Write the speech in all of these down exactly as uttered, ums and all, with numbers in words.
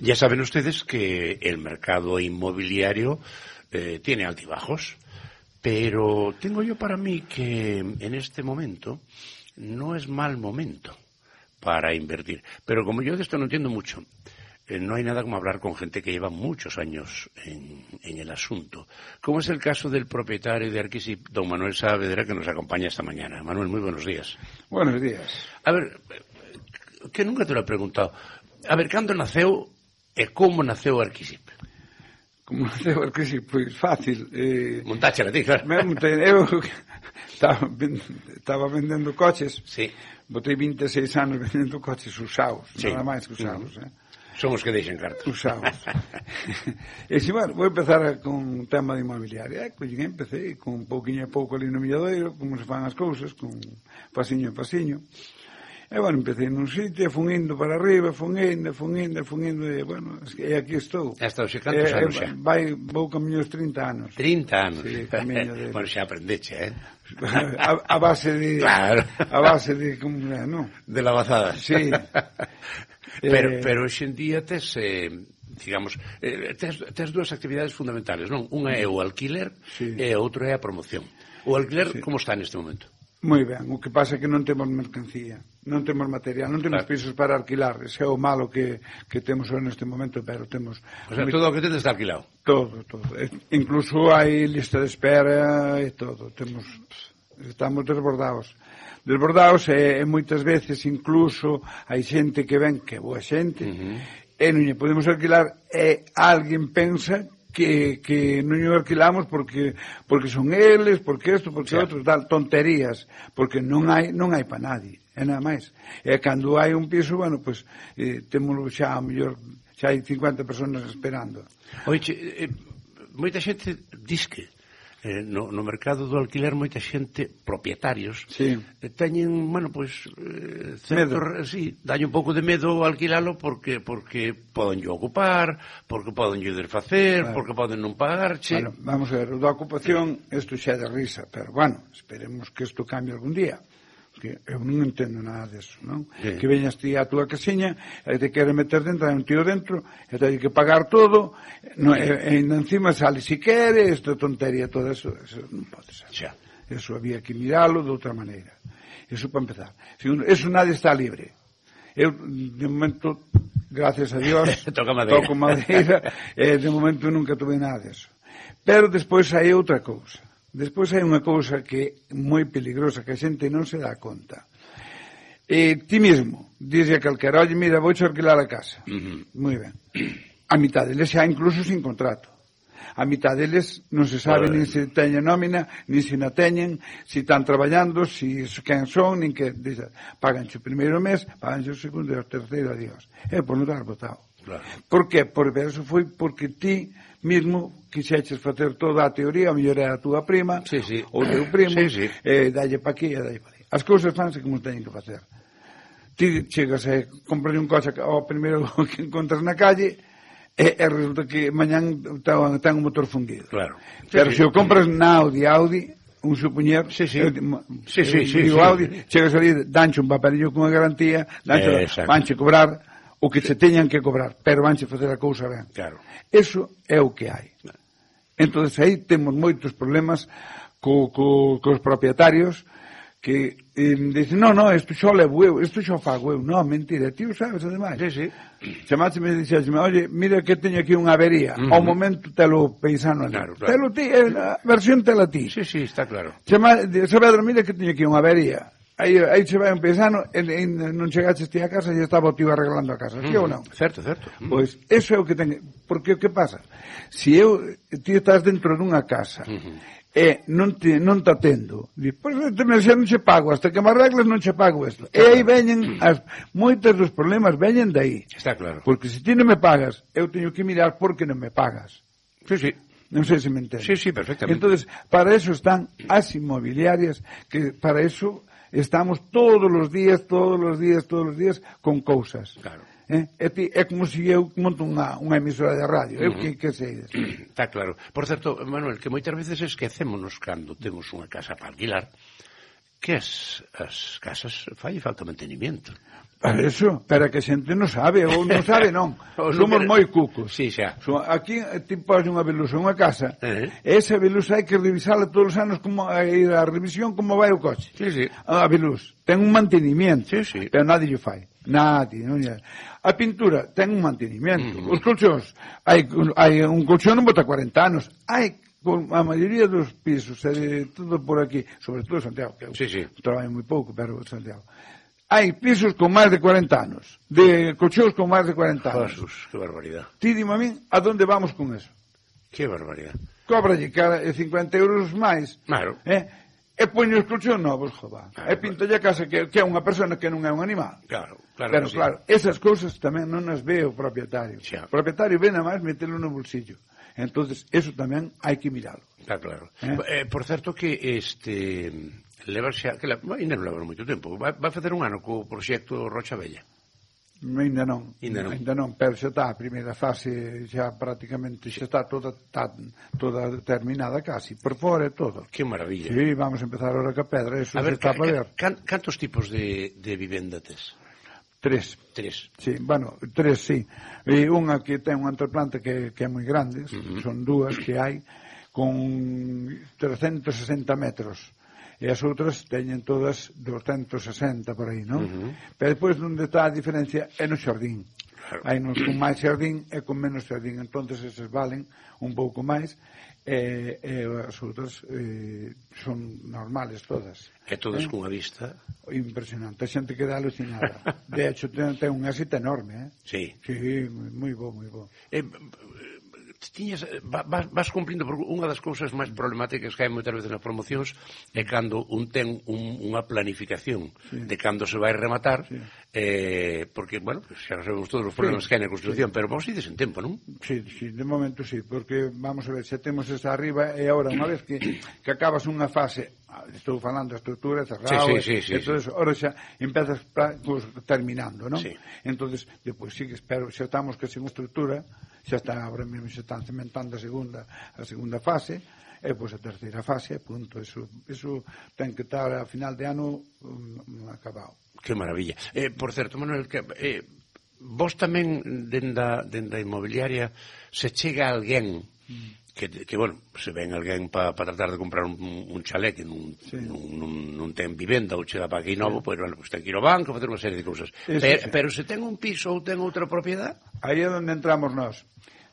Ya saben ustedes que el mercado inmobiliario eh, tiene altibajos, pero tengo yo para mí que en este momento no es mal momento para invertir. Pero como yo de esto no entiendo mucho, eh, no hay nada como hablar con gente que lleva muchos años en, en el asunto. Como es el caso del propietario de Arquisip, don Manuel Saavedra, que nos acompaña esta mañana. Manuel, muy buenos días. Buenos días. A ver, que nunca te lo he preguntado. A ver, cando naceu e como naceu Arquisip? Como naceu Arquisip? Pois fácil. Eh, Montáchela ti, claro. Me montei, eu estaba, estaba vendendo coches. Sí. Botei vinte e seis anos vendendo coches usados, sí. nada máis que usados. Uh-huh. Eh. Son os que deixen cartas. Usados. E si, bueno, vou empezar con un tema de inmobiliaria. Eh, pois empecé con un pouquinho a pouco ali no Milladoiro, como se fan as cousas, con pasiño a pasiño. E, bueno, empecé nun sitio, fun indo para arriba, fun indo, fun indo, fun indo, e, bueno, e aquí estou. Hasta os cantos e, anos xa? Vai, vou camiño os trinta anos. trinta anos? Sí, camiño de... Bueno, xa aprendeche, eh? a, a base de... Claro. A base de, como, non? De lavazadas. Sí. pero, eh... pero hoxe en día tes... Eh... digamos, eh, tes, tes dúas actividades fundamentales, non? Unha é o alquiler sí. e a outra é a promoción. O alquiler, sí. como está neste momento? Moi ben, o que pasa é que non temos mercancía, non temos material, non temos claro. pisos para alquilar, ese é o malo que, que temos neste momento, pero temos... O sea, todo o que tedes está alquilado? Todo, todo. E, incluso hai lista de espera e todo, temos, estamos desbordados. Desbordados e, e moitas veces incluso hai xente que ven, que boa xente, uh-huh. e non lle podemos alquilar e alguén pensa que, que non o alquilamos porque porque son eles, porque isto, porque outros, tal, tonterías, porque non hai non hai para nadie, é nada máis. E cando hai un piso, bueno, pois pues, eh, témolo xa, a mellor, xa hai cincuenta personas esperando. Oiche, eh, moita xente disque eh, no, no mercado do alquiler, moita xente, propietarios, sí. eh, teñen, bueno, pois, eh, certo, sí, dalle un pouco de medo alquilalo porque porque poden yo ocupar, porque poden yo desfacer, claro. porque poden non pagarche. Bueno, vamos a ver, o da ocupación, isto xa é de risa, pero, bueno, esperemos que isto cambie algún día. Que eu non entendo nada deso, non? Sí. Que veñas ti á túa casiña e te quere meter dentro, hai un tío dentro e te hai que pagar todo no, e, e encima sale si quere, esta tontería, todo eso, eso non pode ser. Xa. Eso había que miralo de outra maneira. Eso para empezar. Segundo, eso nadie está libre. Eu, de momento, gracias a Dios, toco madeira, toco madeira e de momento nunca tuve nada deso. Pero despois hai outra cousa. Despois hai unha cousa que é moi peligrosa, que a xente non se dá conta. E ti mesmo, dixe a calquera, oye, mira, vou alquilar a casa. Uh-huh. Moi ben. A mitad deles xa incluso sin contrato. A mitad deles non se sabe nin se teñen nómina, nin se na teñen, se están traballando, se quen son, nin que... Paganche o primeiro mes, paganche o segundo e o terceiro, adiós. É por non dar botado. Claro. Por que? Por eso foi porque ti mesmo quixeches facer toda a teoría, a mellor é a túa prima, sí, sí. ou teu primo, sí, sí. e dalle pa aquí e dalle pa ali. As cousas fanse como teñen que facer. Ti chegas e compras un coche ao primeiro que encontras na calle e, e resulta que mañán ten un motor fundido. Claro. Pero sí, se sí. o compras na Audi, Audi, un supoñer, sí, sí. Eu, sí, sí, sí, digo sí. Audi, chegas ali, danche un papelillo con a garantía, danche, eh, vanche cobrar o que se teñan que cobrar, pero vanche facer a cousa ben. Claro. Eso é o que hai. Entón, aí temos moitos problemas co, co, cos propietarios que eh, dicen, no, no, isto xo levo eu, isto xo fago eu. No, mentira, ti o sabes, ademais. Sí, sí. Chamácheme e dixécheme, oye, mira que teño aquí unha avería. Uh-huh. Ao momento telo pensando ali. Claro, claro. Telo ti, a versión tela ti. Sí, sí, está claro. Chama, Saavedra, mira que teño aquí unha avería. Aí, aí se vai un paisano e, e non chegaches ti a casa e estaba o tío arreglando a casa, sí uh-huh. ou non? Certo, certo. Uh-huh. Pois, eso é o que ten... Porque o que pasa? Se eu, ti estás dentro dunha casa uh-huh. e non te, non te atendo, di, pois xa non che pago, hasta que me arregles non che pago isto. E aí veñen, as, moitos dos problemas veñen de aí. Está claro. Porque se ti non me pagas, eu teño que mirar por que non me pagas. Sí, sí. Non sei se me entendes. Sí, sí, perfectamente. Entonces, para eso están as inmobiliarias, que para eso... Estamos todos os días, todos os días, todos os días con cousas. Claro. Eh? É, é como se eu monto unha, unha emisora de radio. Uh-huh. Eu que, que sei. Está claro. Por certo, Manuel, que moitas veces esquecémonos cando temos unha casa para alquilar que as, as casas fai falta mantenimiento. Eso, pero que a xente non sabe, ou non sabe non. Somos moi cucos. Sí, xa. Aquí ti pos unha velusa unha casa, Uh-huh. e esa velusa hai que revisala todos os anos, como a ir a revisión como vai o coche. Sí, sí. A velus ten un mantenimiento, Sí, sí. pero nadie o fai. Nadie, non é. A pintura ten un mantenimiento. Uh-huh. Os colchóns, hai, hai un colchón non bota corenta anos. Hai a maioría dos pisos, e de todo por aquí, sobre todo Santiago, que eu Sí, sí. traballo moi pouco, pero Santiago. Hai pisos con máis de cuarenta anos, de colchóns con máis de cuarenta anos. Jesús, que barbaridad. Ti dime a min, a donde vamos con eso? Que barbaridad. Cóbralle cara cincuenta euros máis, Claro. eh? E poño os colchóns novos, joder. Claro, E pintalle a casa que, que é unha persona que non é un animal. Claro, claro. Pero sí. claro, esas cousas tamén non as ve o propietario. Xa. O propietario ven a máis metelo no bolsillo. Entonces, eso tamén hai que miralo. Está claro. Eh? Eh, por certo que este leva xa, que la, ainda non leva moito tempo. Vai, vai facer un ano co proxecto Rocha Bella. Ainda non, Ainda non. ainda non, pero xa está a primeira fase, xa prácticamente xa está toda está toda terminada casi, por fora e todo. Que maravilla. Sí, vamos a empezar ahora ca pedra, eso A ver, se está ca, para ver. ca, cantos tipos de, de vivenda tes? Tres. Tres. Sí, bueno, tres, sí. E unha que ten unha entreplanta que, que é moi grande, Uh-huh. son dúas que hai, con trescentos sesenta metros. E as outras teñen todas doscentos sesenta por aí, non? Uh-huh. Pero depois onde está a diferencia é no xardín. Claro. Hai nos con máis xardín e con menos xardín, entonces eses valen un pouco máis, e, e as outras eh, son normales todas. E todas Eh? cunha vista. Impresionante, a xente queda alucinada. De hecho, ten, ten un éxito enorme, eh? Sí. Sí, moi bo, moi bo. Eh, tiñas, vas, vas cumplindo, porque unha das cousas máis problemáticas que hai moitas veces nas promocións é cando un ten un, unha planificación Sí. de cando se vai rematar, Sí. eh, porque, bueno, xa sabemos todos os problemas Sí. que hai na construcción, pero vos ides en tempo, non? Sí, sí, de momento sí, porque vamos a ver, xa temos esa arriba e agora unha vez que, que acabas unha fase, estou falando da estrutura cerrado, Sí, sí, sí, sí, e todo sí. eso, ahora xa empezas pra, pues, terminando, non? Sí. Entonces, depois sigues, pero xa estamos que sin estrutura, xa está agora mesmo xa están cementando a segunda a segunda fase, e pois a terceira fase, punto, eso, eso ten que estar a final de ano um, acabado. Que maravilla. Eh, por certo, Manuel, que, eh, vos tamén denda, denda inmobiliaria se chega alguén que, que bueno, se ven alguén para pa tratar de comprar un, un chalé que non, Sí. non, non, non ten vivenda ou chega para aquí novo, pois, bueno, pues ten que ir ao banco, facer unha serie de cousas. Eso Pero, sí. pero se ten un piso ou ten outra propiedade, Aí é onde entramos nós,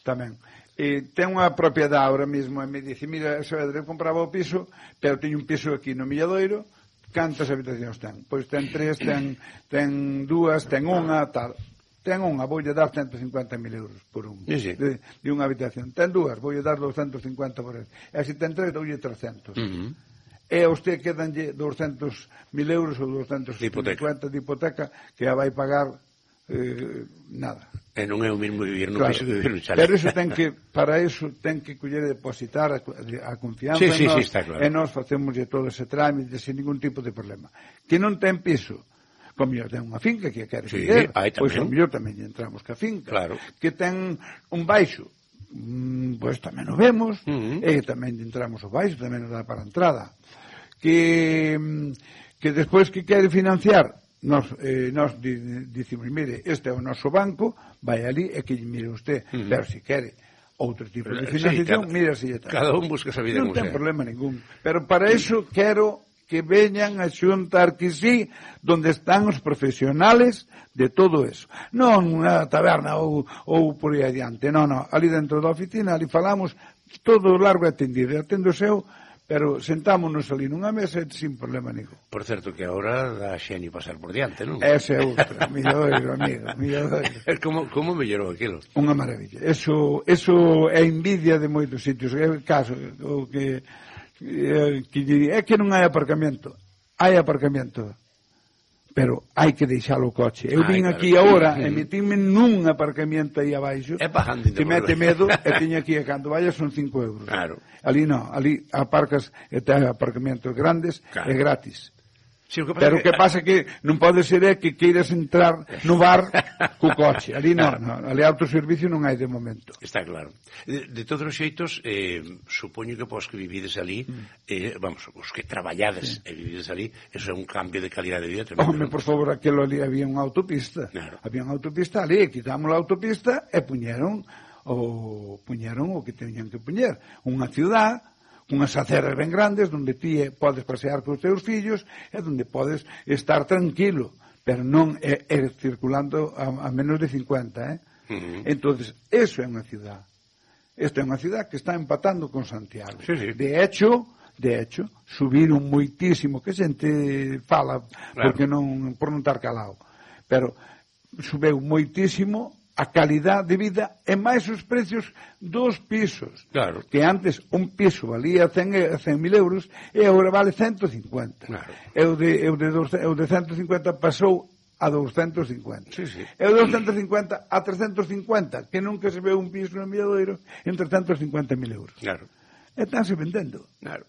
tamén. E ten unha propiedade ahora mesmo, e me dice, mira, Saavedra, eu compraba o piso, pero teño un piso aquí no Milladoiro, cantas habitacións ten? Pois ten tres, ten, ten dúas, ten unha, tal. Ten unha, voulle dar ciento cincuenta mil euros por un, Sí, sí. de, de unha habitación. Ten dúas, voulle dar doscientos cincuenta por ele. E se ten tres, doulle trescentos. uh-huh. E a usted quedanlle doscientos mil euros ou doscientos cincuenta de hipoteca que a vai pagar eh, nada. e non é o mesmo vivir nun Claro, piso que vivir nun chalé. pero eso ten que, para eso ten que coller e depositar a, a confianza Sí, sí, en nós, sí, está claro. e nós facemos todo ese trámite sin ningún tipo de problema. Que non ten piso, como mellor ten unha finca que quere Sí, vender, aí pois tamén. ao mellor tamén lle entramos ca finca. Claro. Que ten un baixo, mm, pois tamén o vemos, Uh-huh. e tamén lle entramos o baixo, tamén nos dá para a entrada. Que, mm, que despois que quere financiar, Nos, eh, nos di, dicimos, mire, este é o noso banco, vai ali e que mire usted, Uh-huh. pero se quere outro tipo de Sí, financiación, cada- mira si está. Cada un busca esa vida Non como ten sea. problema ningún, pero para eso quero que veñan a xuntar que sí, donde están os profesionales de todo eso. Non unha taberna ou, ou por aí adiante, non, non, ali dentro da oficina, ali falamos todo largo e atendido, e atendo seu, pero sentámonos ali nunha mesa sin problema ningún. Por certo que agora dá xenio pasar por diante, non? Ese é outra, milladoiro, amigo, milladoiro. Como, como mellorou aquilo? Unha maravilla. Eso, eso é envidia de moitos sitios. É o caso, o que, eh, que lle- é que non hai aparcamento. Hai aparcamento. Pero hai que deixalo o coche. Eu Ai, vin claro. aquí agora e metíme nun aparcamento aí abaixo. É bajando Que mete medo e teño aquí e cando vaya son cinco euros. Claro. Ali non, ali aparcas e ten aparcamentos grandes Claro. e gratis. Sí, o que pero o que pasa que non pode ser é que queiras entrar no bar co coche. Ali non, non, ali autoservicio non hai de momento. Está claro. De, de todos os xeitos, eh, supoño que vos que vivides ali, eh, vamos, os que traballades sí. e vivides ali, eso é un cambio de calidad de vida tremendo. Home, por favor, aquilo ali había unha autopista. Claro. Había unha autopista ali, quitamos a autopista e puñeron o puñeron o que teñan que puñer. Unha ciudad, unhas aceras ben grandes, donde ti podes pasear cos teus fillos e donde podes estar tranquilo, pero non é, é circulando a, a menos de cincuenta, eh? Uh-huh. Entonces, eso é unha ciudad. Esta é unha ciudad que está empatando con Santiago. Sí, sí. De hecho, de hecho, subiron moitísimo, que xente fala, claro. porque non, por non estar calado, pero subeu moitísimo a calidad de vida e máis os precios dos pisos. Claro. Que antes un piso valía cen mil euros e agora vale ciento cincuenta. Claro. E o de, o de, e o de ciento cincuenta pasou a doscientos cincuenta. Sí, sí. E o de doscientos cincuenta a trescientos cincuenta, que nunca se ve un piso no Milladoiro en trescientos cincuenta mil euros. Claro. E estánse vendendo. Claro.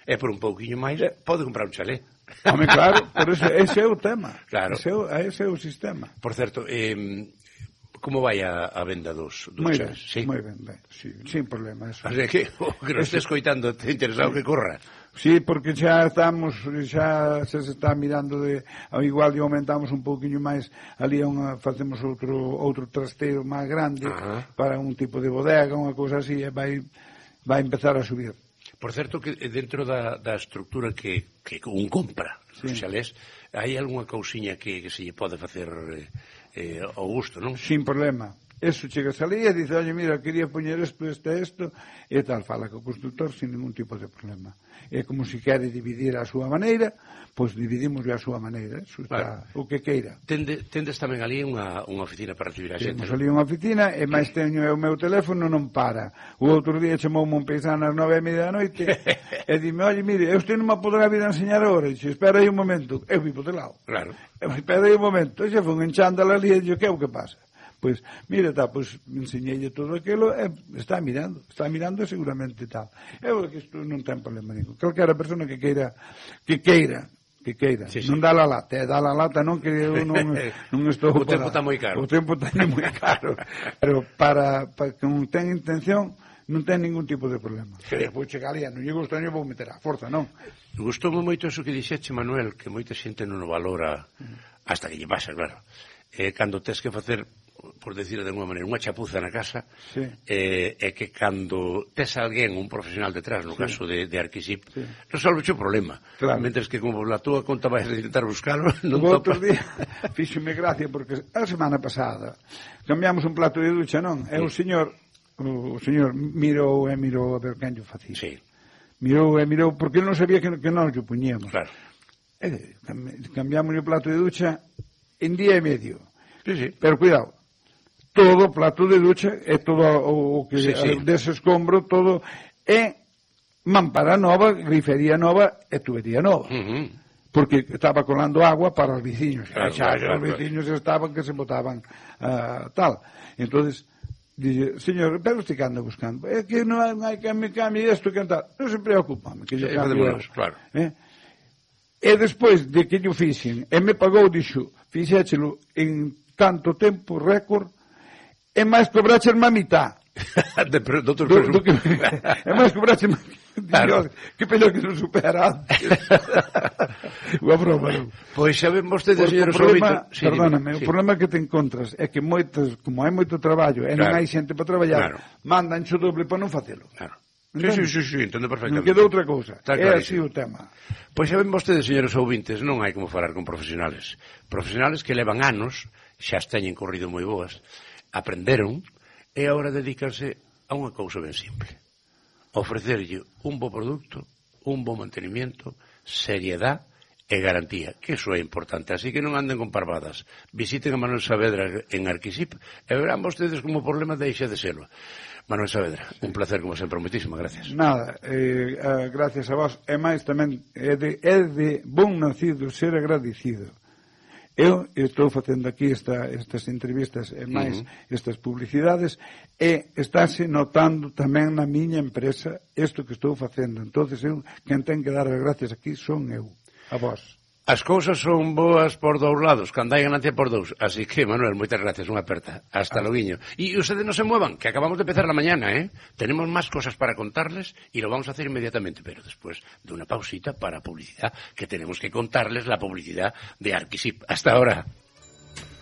E por un pouquiño máis, eh. pode comprar un chalé. Home, claro, por eso, ese é o tema. Claro. Ese é o, ese é o sistema. Por certo, eh, como vai a, a venda dos, dos moi chales? Ben, sí? Moi ben, ben, sí, sin problema. Eso. O sea, que o que nos estés coitando, te interesado sí. que corra? Sí, porque xa estamos, xa, xa se está mirando de, igual de aumentamos un pouquiño máis, ali unha, facemos outro outro trasteiro máis grande, uh-huh. para un tipo de bodega, unha cousa así, e vai, vai empezar a subir. Por certo, que dentro da, da estructura que, que un compra, sí. os xalés, hai algunha cousiña que, que se lle pode facer eh, eh, ao gusto, non? Sin problema. Eso chegas ali e dice, oye, mira, quería poñer isto, isto, isto, e tal, fala co constructor sin ningún tipo de problema. É como se quere dividir a súa maneira, pois dividimos a súa maneira, eso está, vale. O que queira. Tende, tendes tamén ali unha, unha oficina para recibir a xente? Temos ali unha oficina, e máis teño o meu teléfono, non para. O outro día chamoume un paisano ás nove e media da noite, e dime, oye, mire, usted non me poderá vir a enseñar agora, e dixe, espera aí un momento, eu vivo de lado. Claro. Espera aí un momento, e xe foi enchándala ali, e dixe, que é o que pasa? Pois, mira, tá, pois, enseñeille todo aquilo e está mirando, está mirando e seguramente tal. Eu que isto non ten problema ningún. Calquera persona que queira, que queira, que queira, sí, sí. non dá la lata, eh, dá la lata non que eu non, non estou... O tempo está moi caro. O tempo está moi caro, pero para, para que non ten intención, non ten ningún tipo de problema. Sí. Vou chegar ali, non lle gusta, non vou meter a forza, non? Gustoume moito eso que dixeche, Manuel, que moita xente non o valora, hasta que lle pasa, claro. Eh, cando tes que facer, por decir de alguma maneira, unha chapuza na casa, sí. eh, é que cando tes alguén, un profesional detrás, no sí. caso de, de Arquisip, sí. resolve o problema. Claro. Mentres que como la túa conta vais a intentar buscarlo, non o topa. Outro día, fíxome gracia, porque a semana pasada cambiamos un plato de ducha, non? E sí. o señor, o señor mirou e mirou a ver quen yo facía. Sí. Mirou e mirou, porque non sabía que, que non yo puñíamos. Claro. E cambiamos o plato de ducha en día e medio. Sí, sí. Pero cuidado, todo o plato de ducha e todo o, o que sí, sí. dese escombro, todo é mampara nova, grifería nova e tubería nova. Uh-huh. Porque estaba colando agua para os veciños. Claro, xa, claro, os veciños claro. estaban que se botaban uh, tal. Entonces, dice, señor, pero usted que anda buscando? É que non hai que me cambie isto, que tal. Non se preocupa, que yo sí, cambio. Claro. Eh? E despois de que yo fixen, e me pagou, dixo, fixéchelo en tanto tempo récord, e máis cobraches má mitad. de, do, do, do, do que, e máis cobraches má mitad. Dios, que pello que non supera antes. Unha broma, non? Pois saben vostedes, señor problema, sí, perdóname, sí. O problema que te encontras é que moitos, como hai moito traballo e claro. non hai xente para traballar, claro. mandan xo doble para non facelo. Claro. Sí, sí, sí, sí, entendo perfectamente. Non queda outra cousa. É así o tema. Pois saben vostedes, señores ouvintes, non hai como falar con profesionales. Profesionales que levan anos, xa teñen corrido moi boas, aprenderon, e agora dedícanse a unha cousa ben simple. Ofrecerlle un bo produto, un bo mantenimiento, seriedade e garantía, que iso é importante. Así que non anden con parvadas. Visiten a Manuel Saavedra en Arquisip e verán vostedes como o problema deixa de selo. Manuel Saavedra, un placer como sempre, moitísimas gracias. Nada, eh, eh, gracias a vos. E máis tamén, é de, é de bon nacido ser agradecido. Eu estou facendo aquí esta, estas entrevistas e máis uh-huh. estas publicidades e estáse notando tamén na miña empresa isto que estou facendo. Entonces eu, quen ten que dar as gracias aquí son eu, a vos. As cousas son boas por dous lados, cando hai ganancia por dous. Así que, Manuel, moitas gracias, unha aperta. Hasta loguiño. E ustedes non se muevan, que acabamos de empezar la mañana, ¿eh? Tenemos más cosas para contarles y lo vamos a hacer inmediatamente, pero después de una pausita para publicidad, que tenemos que contarles la publicidad de Arquisip. Hasta ahora.